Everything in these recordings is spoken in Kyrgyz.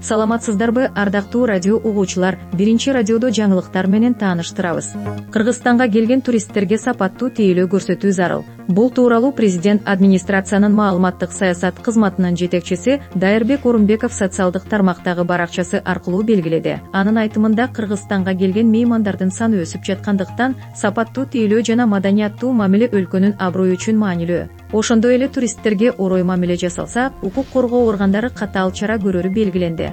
Саламатсыздарбы, ардактуу радио угуучулар? Биринчи радиодо жаңылыктар менен тааныштырабыз. Кыргызстанга келген туристтерге сапаттуу тейлөө көрсөтүү зарыл. Бул тууралуу президент администрациянын маалыматтык саясат кызматынын жетекчиси Дайырбек Орунбеков социалдык тармактагы баракчасы аркылуу белгиледи. Анын айтымында Кыргызстанга келген меймандардын саны өсүп жаткандыктан сапаттуу тейлөө жана маданияттуу мамиле өлкөнүн аброю үчүн маанилүү. Ошондой эле туристтерге орой мамиле жасалса, укук коргоо органдары катаал чара көрөрү белгиленди.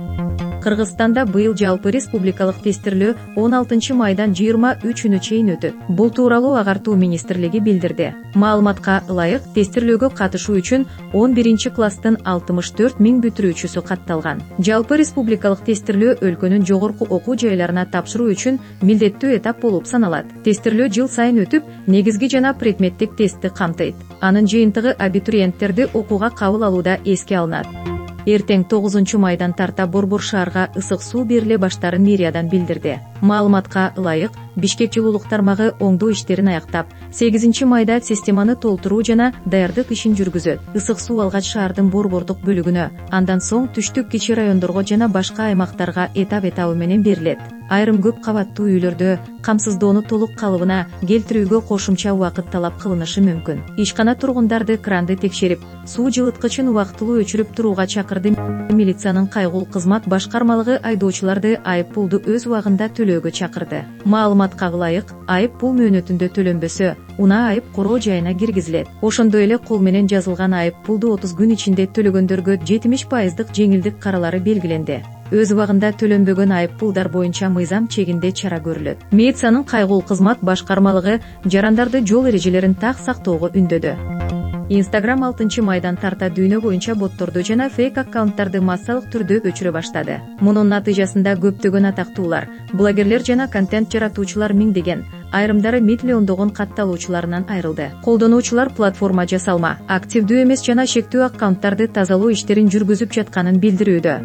Кыргызстанда быйыл жалпы республикалык тестирлөө 16 майдан 23-үнө чейин өтөт. Бул тууралуу агартуу министрлиги билдирди. Маалыматка ылайык, тестирлөөгө катышуу үчүн 11-класстын 64 000 бүтүрүүчүсү катталган. Жалпы республикалык тестирлөө өлкөнүн жогорку окуу жайларына тапшыруу үчүн милдеттүү этап болуп саналат. Тестирлөө жыл сайын өтүп, негизги жана предметтик тестти камтыйт. Анын жыйынтыгы абитуриенттерди окууга кабыл алууда эске алынат. Эртең 9 майдан тарта Борбор шаарга ысык суу бериле баштарын мэриядан билдирди. Маалыматка ылайык, Бишкек жылуулук тармагы оңдоо иштерин аяктап, 8 майда системаны толтуруу жана даярдык ишин жүргүзөт. Ысык суу алгач шаардын борбордук бөлүгүнө, андан соң түштүк кичи райондорго жана башка аймактарга этап-этабы менен берилет. Айрым көп кабаттуу үйлөрдө камсыздоону толук калыбына келтирүүгө кошумча убакыт талап кылынышы мүмкүн. Ишкана тургундарды кранды текшерип, суу жылыткычын убактылуу өчүрүп турууга чакырды. Милициянын кайгыл кызмат башкармалыгы айдоочуларды айып пулду өз убагында төлөөгө чакырды. Маалыматка ылайык, айып пул мөөнөтүндө төлөнбөсө, унаа айып короо жайына киргизилет. Ошондой эле кол менен жазылган айып пулду 30 күн ичинде төлөгөндөргө 70% жеңилдик каралары белгиленди. Өз убагында төлөнбөгөн айып пулдар боюнча мыйзам чегинде чара көрүлөт. Милициянын кайгыл кызмат башкармалыгы жарандарды жол эрежелерин так сактоого үндөдү. Instagram 6 майдан тарта дүйнө боюнча ботторду жана фейк аккаунттарды массалык түрдө өчүрө баштады. Мунун натыйжасында көптөгөн атактуулар, блогерлер жана контент жаратуучулар миңдеген, айрымдары миллиондогон катталуучуларынан айрылды. Колдонуучулар платформа жасалма, активдүү эмес жана шектүү аккаунттарды тазалоо иштерин жүргүзүп жатканын билдирүүдө.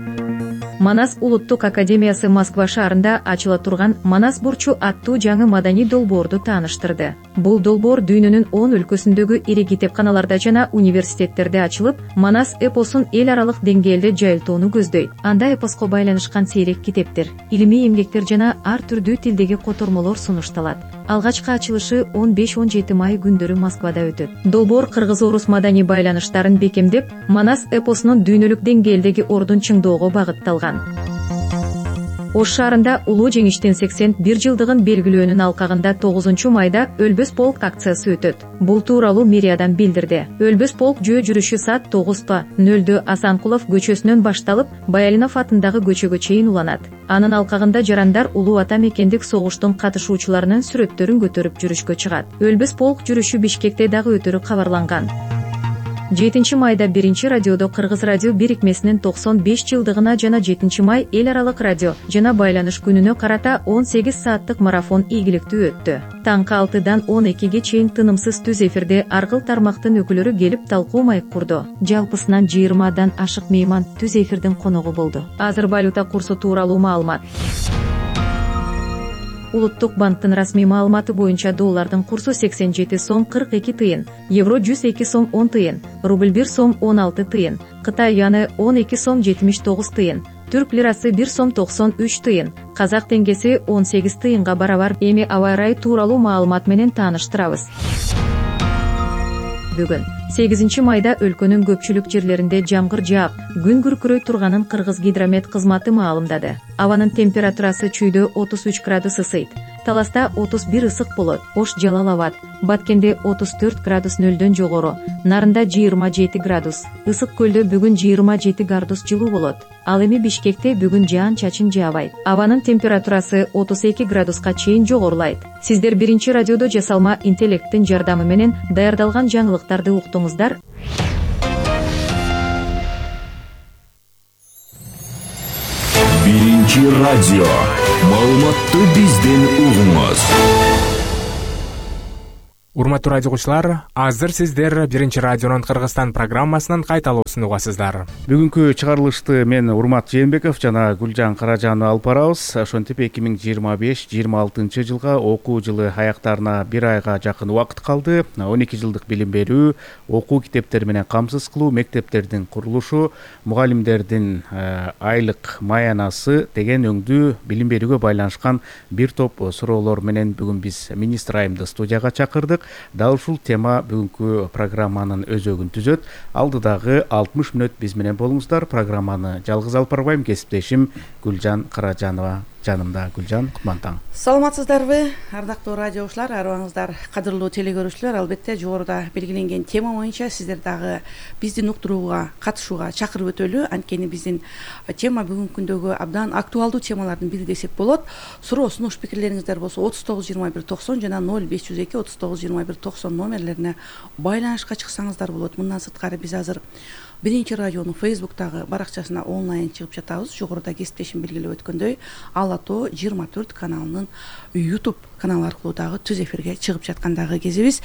Манас улуттук академиясы Москва шаарында ачыла турган Манас бурчу аттуу жаңы маданий долбоорду тааныштырды. Бул долбоор дүйнөнүн 10 өлкөсүндөгү ири китепканаларда жана университеттерде ачылып, Манас эпосун эл аралык деңгээлде жайылтууну көздөйт. Анда эпоско байланышкан сейрек китептер, илимий эмгектер жана ар түрдүү тилдеги котормолор сунушталат. Алгачкы ачылышы 15-17 май күндөрү Москвада өтөт. Долбоор кыргыз-орус маданий байланыштарын бекемдеп, Манас эпосунун дүйнөлүк деңгээлдеги ордун чыңдоого багытталган. Ош шаарында улуу жеңиштин 81 жылдыгын белгилөөнүн алкагында 9 майда Өлбөс полк акциясы өтөт. Бул тууралуу мэриядан билдирди. Өлбөс полк жөө жүрүшү саат 9:00 Асанкулов көчөсүнөн башталып, Баялинов атындагы көчөгө чейин уланат. Анын алкагында жарандар улуу ата мекендик согуштун катышуучуларынын сүрөттөрүн көтөрүп жүрүшкө чыгат. Өлбөс полк жүрүшү Бишкекте дагы өтөрү кабарланган. 7 майда биринчи радиодо Кыргыз радио бирикмесинин 95 жылдыгына жана 7 май эл аралык радио жана байланыш күнүнө карата 18 сааттык марафон ийгиликтүү өттү. Таңкы 6-дан 12-ге чейин тынымсыз түз эфирде ар кыл тармактын өкүлдөрү келип талкуу маек курду. Жалпысынан 20дан ашык мейман түз эфирдин коногу болду. Азыр валюта курсу тууралуу маалымат. Улуттук банктын расмий маалыматы боюнча доллардын курсу 87 сом 42 тыйын, евро 102 сом 10 тыйын, рубль 1 сом 16 тыйын, Кытай юаны 12 сом 79 тыйын, түрк лирасы 1 сом 93 тыйын, казак теңгеси 18 тыйынга барабар. Эми аба ырайы тууралуу маалымат менен тааныштырабыз. Бүгүн 8 майда өлкөнүн көпчүлүк жерлеринде жамгыр жаап, күн күркүрөй турганын Кыргыз гидромет кызматы маалымдады. Абанын температурасы чүйдө 33 градус ысыйт, Таласта 31 ысык болот, Ош Жалал Абад, Баткенде 34 градус нөлдөн жогору, Нарында 27 градус, Ысык көлдө бүгүн 27 градус жылуу болот. Ал эми Бишкекте бүгүн жаан чачын жаабайт. Абанын температурасы 32 градуска чейин жогорулайт. Сиздер биринчи радиодо жасалма интеллекттин жардамы менен даярдалган жаңылыктарды уктуңуздар. Биринчи радио. Маалыматты бизден угуңуз. Урматтуу радио угуучулар, азыр сиздер Биринчи радионун Кыргызстан программасынын кайталоосун угасыздар. Бүгүнкү чыгарылышты мен Урмат Жээнбеков жана Гүлжан Каражанова алып барабыз. Ошентип 2025-26 жылга окуу жылы аяктарына бир айга жакын убакыт калды. 12 жылдык билим берүү, окуу китептери менен камсыз кылуу, мектептердин курулушу, мугалимдердин айлык маянасы деген өңдүү билим берүүгө байланышкан бир топ суроолор менен бүгүн биз министр айымды студияга чакырдык. Дал ушул тема бүгүнкү программанын өзөгүн түзөт. Алдыдагы 60 мүнөт биз менен болуңуздар. Программаны жалгыз алып барбайм, кесиптешим Гүлжан Каражанова жанымда. Гүлжан, кутман таң. Саламатсыздарбы, ардактуу радио угуучулар, арыбаңыздар, кадырлуу телегөрүүчүлөр. Албетте жогоруда белгиленген тема боюнча сиздер дагы биздин уктурууга катышууга чакырып өтөлү. Анткени биздин тема бүгүнкү күндөгү абдан актуалдуу темалардын бири десек болот. Суроо сунуш пикирлериңиздер болсо 39-21-90 жана 0502-39-21-90 номерлерине байланышка чыксаңыздар болот. Мындан сырткары биз азыр Биринчи радионун Facebook'тагы баракчасына онлайн чыгып жатабыз. Жогоруда кесиптешим белгилеп өткөндөй, Ала Тоо 24 каналынын YouTube каналы аркылуу дагы түз эфирге чыгып жаткандагы кезибиз.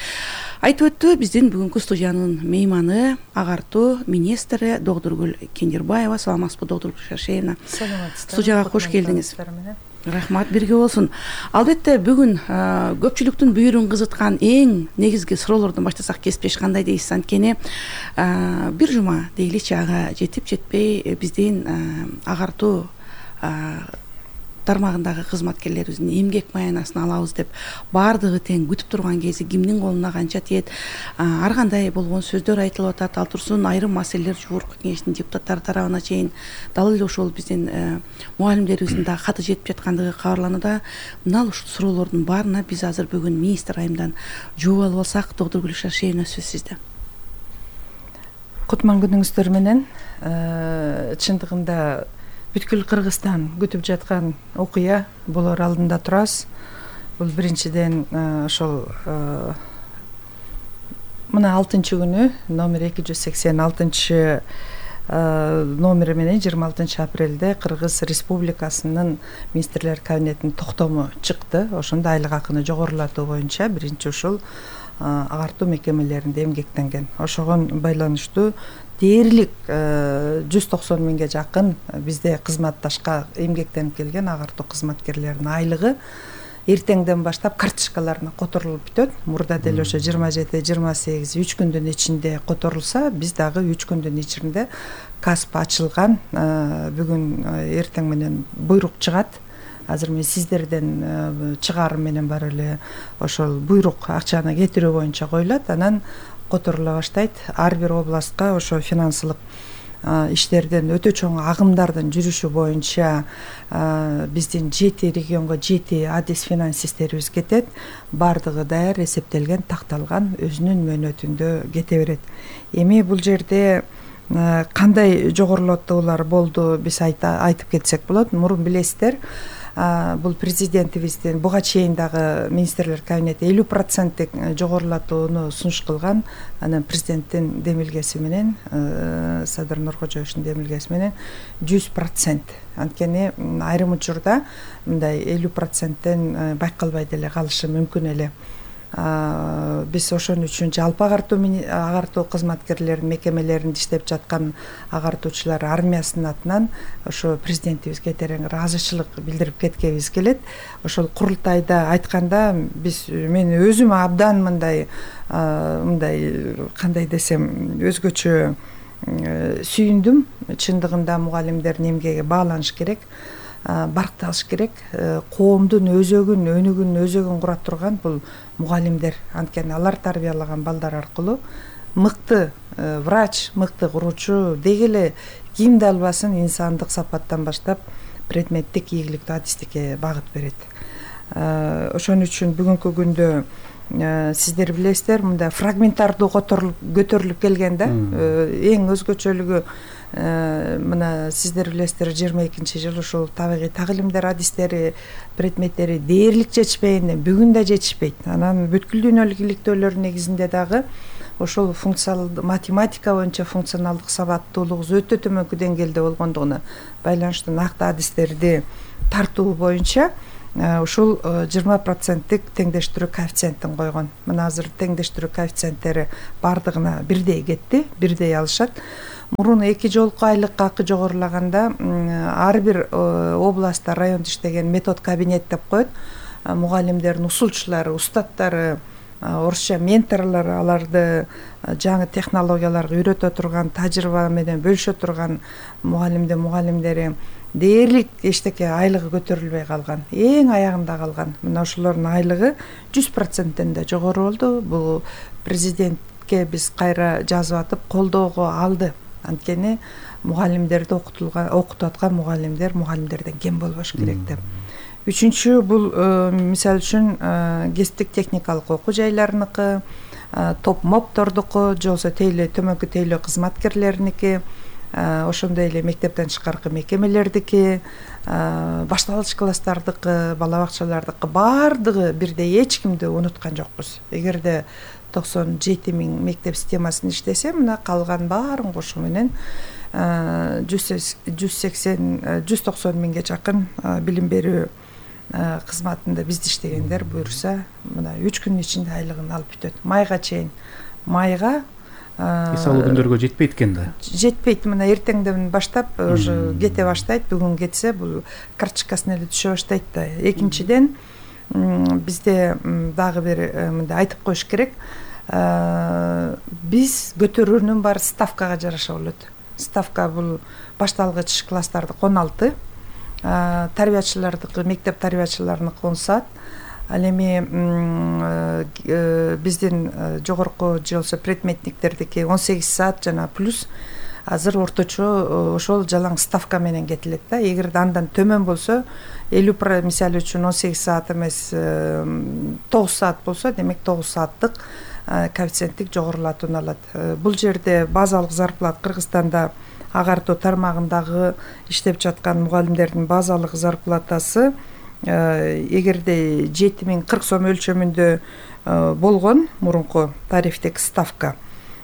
Айтып өттү, биздин бүгүнкү студиянын мейманы агартуу министри Догдургүл Кендирбаева. Саламатсызбы, Догдургүл Шашеевна? Саламатсыздар. Студияга кош келдиңиз. Рахмат, бирге болсун. Албетте бүгүн көпчүлүктүн бүйүрүн кызыткан эң негизги суроолордон баштасак кесиптеш кандай дейсиз? Анткени бир жума дейличи, ага жетип жетпей биздин агартуу тармагындагы кызматкерлерибиздин эмгек маянасын алабыз деп баардыгы тең күтүп турган кези кимдин колуна канча тиет, ар кандай болгон сөздөр айтылып атат. Ал турсун айрым маселелер жогорку кеңештин депутаттары тарабына чейин дал эле ошол биздин мугалимдерибиздин дагы каты жетип жаткандыгы кабарланууда. Мына ушул суроолордун баарына биз азыр бүгүн министр айымдан жооп алып алсак. Догдургүл Шашеевна, сөз сизде. Кутман күнүңүздөр менен. Чындыгында бүткүл Кыргызстан күтүп жаткан окуя болор алдында турабыз. Бул биринчиден ошол мына 6-күнү номер 286 номери менен 26 апрелде Кыргыз Республикасынын министрлер кабинетинин токтому чыкты. Ошондо айлык акыны жогорулатуу боюнча биринчи ушул агартуу мекемелеринде эмгектенген. Ошого байланыштуу дээрлик 190 миңге жакын бизде кызматташка эмгектенип келген агартуу кызматкерлеринин айлыгы эртеңден баштап карточкаларына которулуп бүтөт. Мурда деле ошо 27-28 3 күндүн ичинде которулса, биз дагы 3 күндүн ичинде касп ачылган. Бүгүн эртең менен буйрук чыгат. Азыр мен сиздерден чыгарым менен бар эле ошол буйрук акчаны кетирүү боюнча коюлат. Анан которула баштайт. Ар бир областка ошо финансылык иштерден өтө чоң агымдардын жүрүшү боюнча биздин 7 регионго 7 адис финансисттерибиз кетет. Бардыгы даяр, эсептелген, такталган, өзүнүн мөөнөтүндө кете берет. Эми бул жерде кандай жогорулатуулар болду биз айтып кетсек болот. Мурун билесиздер, бул президентибиздин буга чейин дагы министрлер кабинети 50% жогорулатууну сунуш кылган. Анан президенттин демилгеси менен, Садыр Нуркожоевичтин демилгеси менен 100%. Анткени айрым учурда мындай 50%тен байкалбай деле калышы мүмкүн эле. Биз ошон үчүн жалпы агартуу кызматкерлеринин мекемелеринде иштеп жаткан агартуучулар армиясынын атынан ошо президентибизге терең ыраазычылык билдирип кеткебиз келет. Ошол курултайда айтканда мен өзүм абдан мындай кандай десем өзгөчө сүйүндүм. Чындыгында мугалимдердин эмгеги бааланыш керек, баркталыш керек. Коомдун өзөгүн, өнүгүн, өзөгүн кура турган бул мугалимдер. Анткени алар тарбиялаган балдар аркылуу мыкты врач, мыкты куруучу деги эле кимди албасын инсандык сапаттан баштап предметтик, ийгиликтүү адистикке багыт берет. Ошон үчүн бүгүнкү күндө сиздер билесиздер, мындай фрагментардуу көтөрүлүп келген да. Эң өзгөчөлүгү мына сиздер билесиздер 22-жыл ушул табигый тагылимдер адистери, предметтери дээрлик жетишпегенде бүгүн да жетишпейт. Анан бүткүл дүйнөлүк иликтөөлөр негизинде дагы ошол математика боюнча функционалдык сабаттуулугубуз өтө төмөнкү деңгээлде болгондугуна байланыштуу накты адистерди тартуу боюнча ушул 20% теңдештирүү коэффициентин койгон. Мына азыр теңдештирүү коэффициенттери баардыгына бирдей кетти, бирдей алышат. Мурун 2 жолку айлык акы жогорулаганда ар бир областта, районда иштеген метод кабинет деп коет. Мугалимдердин усулчулары, устаттары, орусча менторлор аларды жаңы технологияларга үйрөтө турган, тажрыйба менен бөлүшө турган мугалимдери дээрлик эчтеке айлыгы көтөрүлбөй калган, эң аягында калган. Мына ошолордун айлыгы 100%ден да жогору болду. Бул президентке биз кайра жазып атып колдоого алды. Анткени мугалимдерди окутуп аткан мугалимдерден кем болбош керек деп. Үчүнчү бул мисалы үчүн кесиптик техникалык окуу жайларыныкы, топ моптордуку, же болбосо тейлөө төмөнкү тейлөө кызматкерлериники, ошондой эле мектептен тышкаркы мекемелердики, башталгыч класстардыкы, бала бакчалардыкы баардыгы бирдей, эч кимди унуткан жокпуз. Эгерде 97 000 мектеп системасын иштесе, мына калган баарын кошуу менен 190 миңге жакын билим берүү кызматында бизде иштегендер буюрса, мына 3 күнүн ичинде айлыгын алып бүтөт. Майга чейин. Майга эс алуу күндөргө жетпейт экен да. Жетпейт. Мына эртеңден баштап уже кете баштайт. Бүгүн кетсе, бул карточкасына эле түшө баштайт да. Экинчиден, бизде дагы бир мындай айтып коюш керек. Биз көтөрүүнүн баары ставкага жараша болот. Ставка бул башталгыч класстардык 16, тарбиячылардыкы, мектеп тарбиячыларыныкы 10 саат. Ал эми биздин жогорку же болбосо предметниктердики 18 саат жана плюс азыр орточо ошол жалаң ставка менен кетилет да. Эгерде андан төмөн болсо, 50% мисалы үчүн 18 саат эмес 9 саат болсо, демек 9 сааттык коэффициенттик жогорулатууну алат. Бул жерде базалык зарплата Кыргызстанда агартуу тармагындагы иштеп жаткан мугалимдердин базалык зарплатасы эгерде 7040 сом өлчөмүндө болгон мурунку тарифтик ставка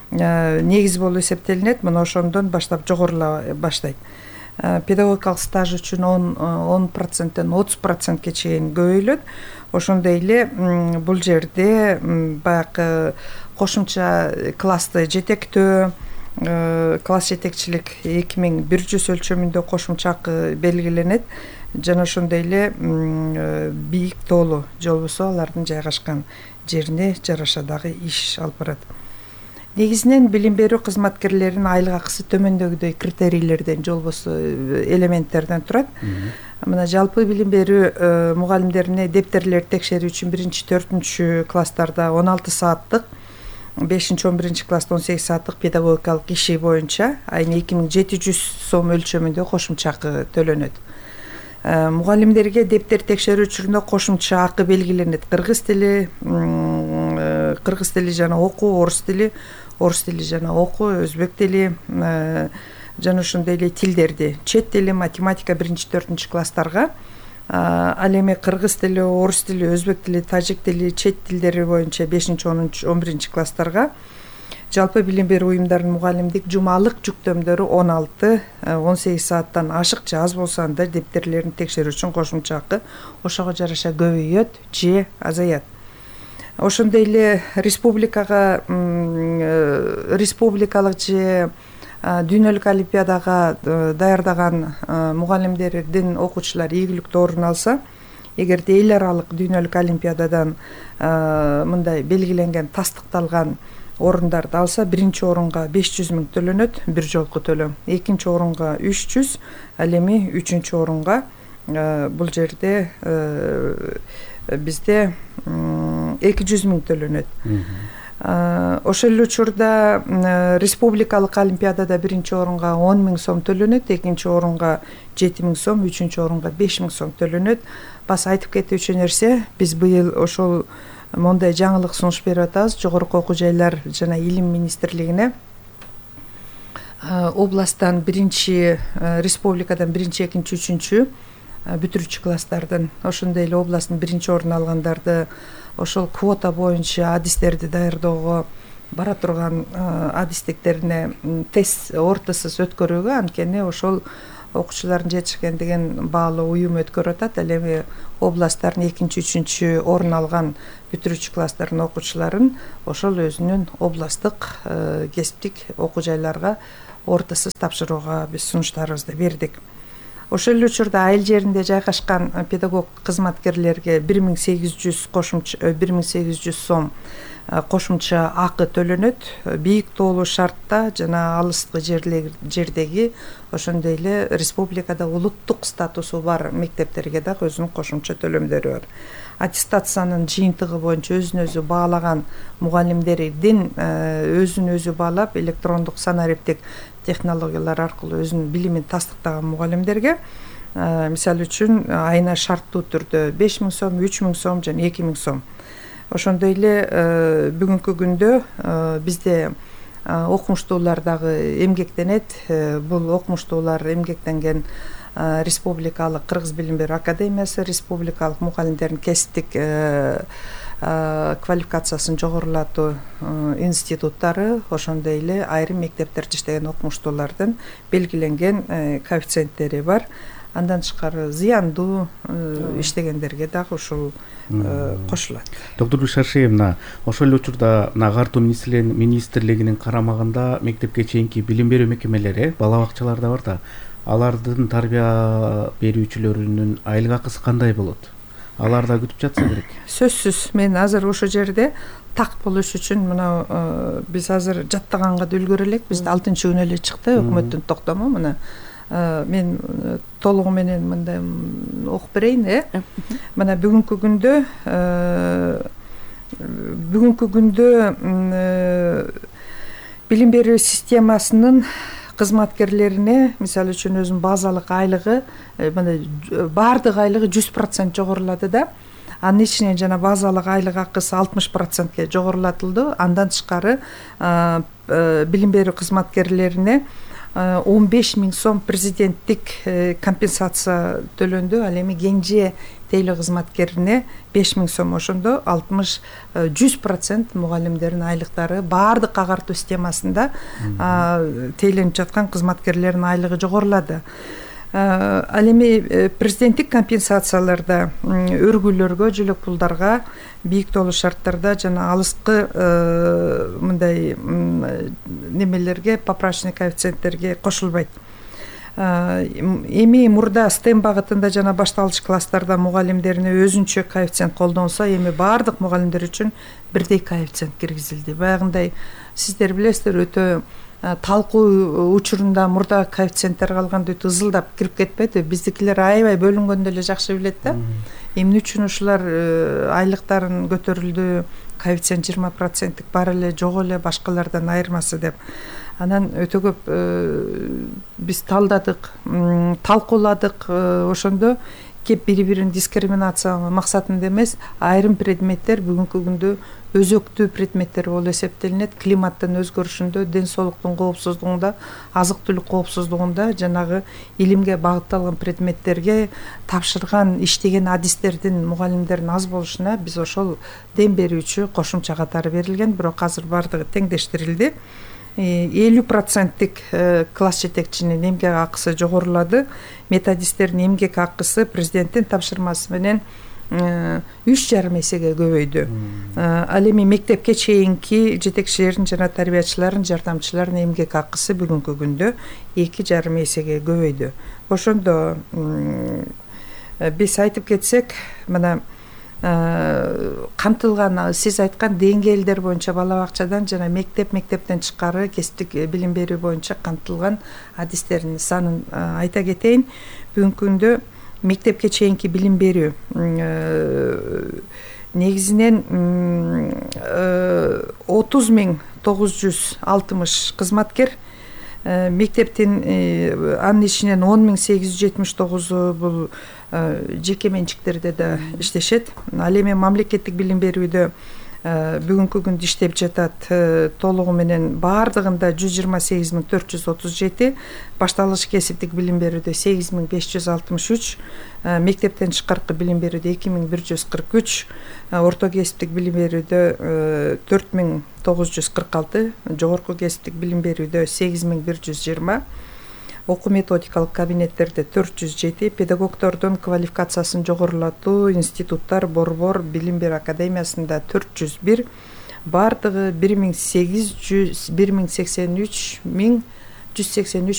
негиз болуп эсептелинет. Мына ошондон баштап жогорула баштайт. Педагогикалык стаж үчүн 10%ден 30%ке чейин көбөйүлөт. Ошондой эле бул жерде баягы кошумча классты жетектөө, класс жетекчилик 2100 өлчөмүндө кошумча акы белгиленет. Жана ошондой эле бийик тоолу же болбосо алардын жайгашкан жерине жараша дагы иш алып барат. Негизинен билим берүү кызматкерлеринин айлык акысы төмөндөгүдөй критерийлерден же болбосо элементтерден турат. Мына жалпы билим берүү мугалимдерине дептерлерди текшерүү үчүн 1-4 класстарда 16 сааттык, 5-11 класста 18 сааттык педагогикалык иши боюнча айына 2700 сом өлчөмүндө кошумча акы төлөнөт. Мугалимдерге дептер текшерүү учурунда кошумча акы белгиленет. Кыргыз тили жана окуу, орус тили жана окуу, өзбек тили жана ошондой эле тилдерди, чет тили, математика 1-4 класстарга, ал эми кыргыз тили, орус тили, өзбек тили, тажик тили, чет тилдери боюнча 5-11 класстарга, жалпы билим берүү уюмдарынын мугалимдик жумалык жүктөмдөрү 16-18 сааттан ашык же аз болсо анда дептерлерин текшерүү үчүн кошумча акы ошого жараша көбөйөт же азаят. Ошондой эле республикалык же дүйнөлүк олимпиадага даярдаган мугалимдердин окуучулар ийгиликтүү орун алса, эгерде эл аралык дүйнөлүк олимпиададан мындай белгиленген тастыкталган орундарды алса, биринчи орунга 500 000 төлөнөт, бир жолку төлөм. Экинчи орунга 300, ал эми үчүнчү орунга бул жерде бизде 200 000 төлөнөт. Ошол эле учурда республикалык олимпиадада биринчи орунга 10 000 сом төлөнөт, экинчи орунга 7 000 сом, үчүнчү орунга 5 000 сом төлөнөт. Бас айтып кетүүчү нерсе, биз быйыл ошол мондай жаңылык сунуш берип атабыз. Жогорку окуу жайлар жана илим министрлигине областтан республикадан биринчи, экинчи, үчүнчү бүтүрүүчү класстардын, ошондой эле областтын биринчи орун алгандарды ошол квота боюнча адистерди даярдоого бара турган адистиктерине тест ортосуз өткөрүүгө, анткени ошол окуучулардын жетишкендигин баалоо уюм өткөрүп атат. Ал эми областтардын 2-3 орун алган бүтүрүүчү класстардын окуучуларын ошол өзүнүн областтык кесиптик окуу жайларга ортосуз тапшырууга биз сунуштарыбызды бердик. Ошол эле учурда айыл жеринде жайгашкан педагог кызматкерлерге 1800 сом кошумча акы төлөнөт. Бийик тоолуу шартта жана алыскы жердеги ошондой эле республикада улуттук статусу бар мектептерге дагы өзүнүн кошумча төлөмдөрү бар. Аттестациянын жыйынтыгы боюнча өзүн өзү баалаган мугалимдердин өзүн өзү баалап электрондук санариптик технологиялар аркылуу өзүнүн билимин тастыктаган мугалимдерге мисалы үчүн айына шарттуу түрдө 5000 сом, 3000 сом жана 2000 сом. Ошондой эле бүгүнкү күндө бизде окумуштуулар дагы эмгектенет. Бул окумуштуулар эмгектенген республикалык Кыргыз билим берүү академиясы, республикалык мугалимдердин кесиптик квалификациясын жогорулатуу институттары, ошондой эле айрым мектептерде иштеген окумуштуулардын белгиленген коэффициенттери бар. Андан тышкары зыяндуу иштегендерге дагы ушул кошулат. Доктор Бишаршиевна, ошол эле учурда Агартуу министрлигинин карамагында мектепке чейинки билим берүү мекемелери, бала бакчалар да бар да. Алардын тарбия берүүчүлөрүнүн айлык акысы кандай болот? Алар да күтүп жатса керек. Сөзсүз, мен азыр ошол жерде так болуш үчүн мына биз азыр жаттаганга да үлгөрө элек. Бизде 6-күнү эле чыкты өкмөттүн токтому. Мына мен толугу менен мындай окуп берейин. Мына бүгүнкү күндө билим берүү системасынын кызматкерлерине мисалы үчүн өзүнүн базалык айлыгы баардык айлыгы 100% жогорулады да. Анын ичинен жана базалык айлык акысы 60%ке жогорулатылды. Андан тышкары билим берүү кызматкерлерине 15.000 сом президенттик компенсация төлөндү. Ал эми кенже тейлөө кызматкерине 5.000 сом. Ошондо 100% мугалимдердин айлыктары баардык агартуу системасында тейленип жаткан кызматкерлердин айлыгы жогорулады. Ал эми президенттик компенсацияларда өргүлөргө, жөлөк пулдарга, бийик тоолуу шарттарда жана алыскы мындай немелерге, поправочный коэффициенттерге кошулбайт. Эми мурда STEM багытында жана башталгыч класстарда мугалимдерине өзүнчө коэффициент колдонсо, эми баардык мугалимдер үчүн бирдей коэффициент киргизилди. Баягындай сиздер билесиздер, өтө талкуу учурунда мурда коэффициенттер калганда өтө ызылдап кирип кетпеди. Биздикилер аябай бөлүнгөндө эле жакшы билет да. Эмне үчүн ушулар айлыктарын көтөрүлдү, коэффициент 20% бар эле, жок эле башкалардан айырмасы деп. Анан өтө көп биз талдадык, талкууладык. Ошондо кеп бири-бирин дискриминация максатында эмес, айрым предметтер бүгүнкү күндө өзөктүү предметтер болуп эсептелинет. Климаттын өзгөрүшүндө, ден соолуктун коопсуздугунда, азык-түлүк коопсуздугунда жанагы илимге багытталган предметтерге тапшырган, иштеген адистердин, мугалимдердин аз болушуна биз ошол дем берүүчү кошумча катары берилген. Бирок азыр бардыгы теңдештирилди. 50%-тик класс жетекчинин эмгек акысы жогорулады. Методисттердин эмгек акысы президенттин тапшырмасы менен 3,5 эсеге көбөйдү. Ал эми мектепке чейинки жетекчилердин жана тарбиячылардын, жардамчылардын эмгек акысы бүгүнкү күндө 2,5 эсеге көбөйдү. Ошондо биз айтып кетсек, мына камтылган сиз айткан деңгээлдер боюнча бала бакчадан жана мектептен тышкары кесиптик билим берүү боюнча камтылган адистердин санын айта кетейин. Бүгүнкү күндө мектепке чейинки билим берүү негизинен 30.960 кызматкер, мектептин анын ичинен 10.879 бул жеке менчиктерде да иштешет. Ал эми мамлекеттик билим берүүдө бүгүнкү күндө иштеп жатат толугу менен баардыгында 128.437, башталгыч кесиптик билим берүүдө 8.563, мектептен тышкаркы билим берүүдө 2.143, орто кесиптик билим берүүдө 4.946, жогорку кесиптик билим берүүдө 8.120. окуу методикалык кабинеттерде 407, педагогдордун квалификациясын жогорулатуу институттар борбор билим берүү академиясында 401, баардыгы 183